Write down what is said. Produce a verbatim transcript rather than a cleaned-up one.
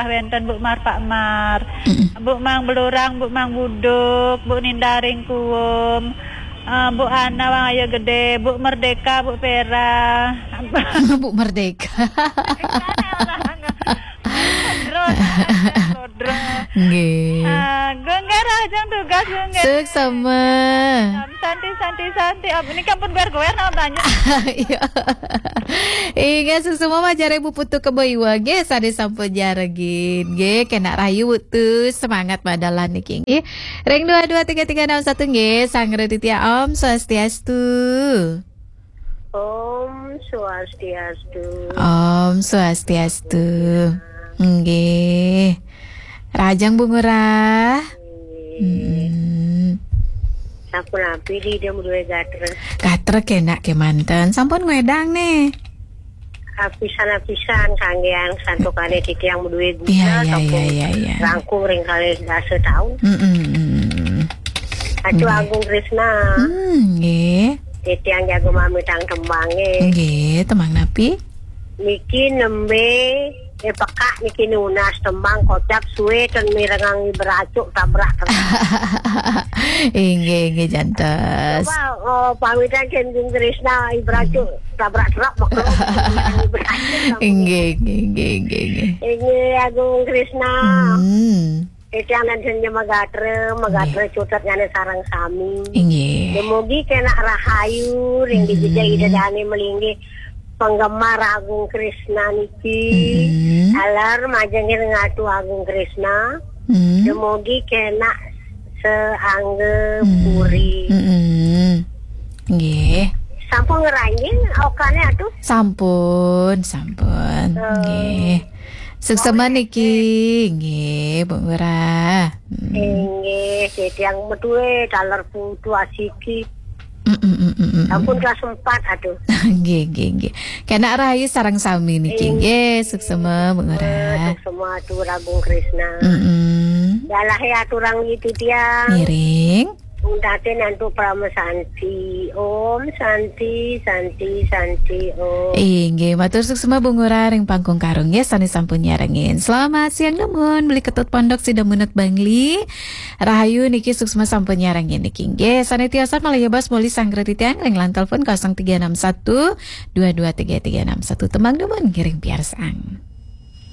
Wénten Bu Mar Pak Mar, Bu Mang Belurang, Bu Mang Buduk, Bu Nindaring Kuum, eh, Bu Ana Wang Ayo Gede, Bu Merdeka, Bu Pera. Bu Merdeka. Nggih. Ah, Gung Garah, jang tugas, Gung Garah. Suksma. Santi, santi, santi. Apa ini kampun gue gue nama banyak. Iya. Inggih, suksma majeng ring Ibu Putu Kebo Iwa nggih, sané sampun nyarengin. Nggih, kénak rahayu, Putu, semangat madalan niki nggih. Ring dua dua tiga tiga enam satu nggih, Sang Raditya, Om Swastiastu. Om Swastiastu. Om Swastiastu. Nggih. Rahajeng Bu Ngurah. Mm-mm. Sapunapi di dia duwe gatra. Gatra kénak kémanten. Sampun ngwedang nih. Apisan-apisan kanggean santukané titiang duwe guna. Iya, iya, sampun iya, iya, iya. Langkung ring kalih dasa taun. Mm-mm. Atu Nggih. Agung Krisna. Hmm, nggih. Titiang jaga mamitang tembangé. Nggih, tembang napi? Niki nembé, eh, pekak niki nunas tembang kocap suwe ten mirengang beracuk tabrak tabrak. Inggih, inggih, jantos. Coba, oh, pamitan ken Gung Krisna, Ibracuk tabrak tabrak maklum. Inggih, inggih, inggih, inggih, inggih. Inggih, Agung Krisna. Hmm. Titiang dan senja magatra, magatra Inggih. Cutet nyane sareng sami. Inggih. Dumugi kenak rahayu, ring di jejak Mm-mm. Ida Dane melinggih penggemar Agung Krisna niki. Mm-mm. Alar majeng ring Atu Agung Krisna. Mm. Dumugi kenak seangga Mm. Puri. Mm-mm. Nggih. Sampun ngeranjing okane Atu? Sampun, sampun. Eh, Nggih. Suksema niki, nggih, Bu Ngurah. Mm. Inggih, titiang metuwe taler putu asiki. Mm, mm, mm, mm, mm, mm. Sampun kelas empat, aduh. Nggih, nggih, nggih. Kenak rahayu sareng sami niki, Inggih. Nggih, suksema, Bu Ngurah. Eh, suksema Atu Agung Krisna. Mm, mm. Dalahe aturang itu tiang. Ngiring. Untatin antuk Parama Santi. Om Santi, Santi, Santi, Om. Inggih, matur suksema Bu Ngurah ring Pangkung Karung, nggih, sane sampun nyarengin. Selamat siang, nuwun. Beli Ketut Pondok Sidamunut Bangli. Rahayu niki suksema sampun nyarengin niki, nggih. Sane tiosan malih bas muli sanggra titiang ring line telepon kosong tiga enam satu dua dua tiga tiga enam satu. Tembang nuwun ngiring piarsang.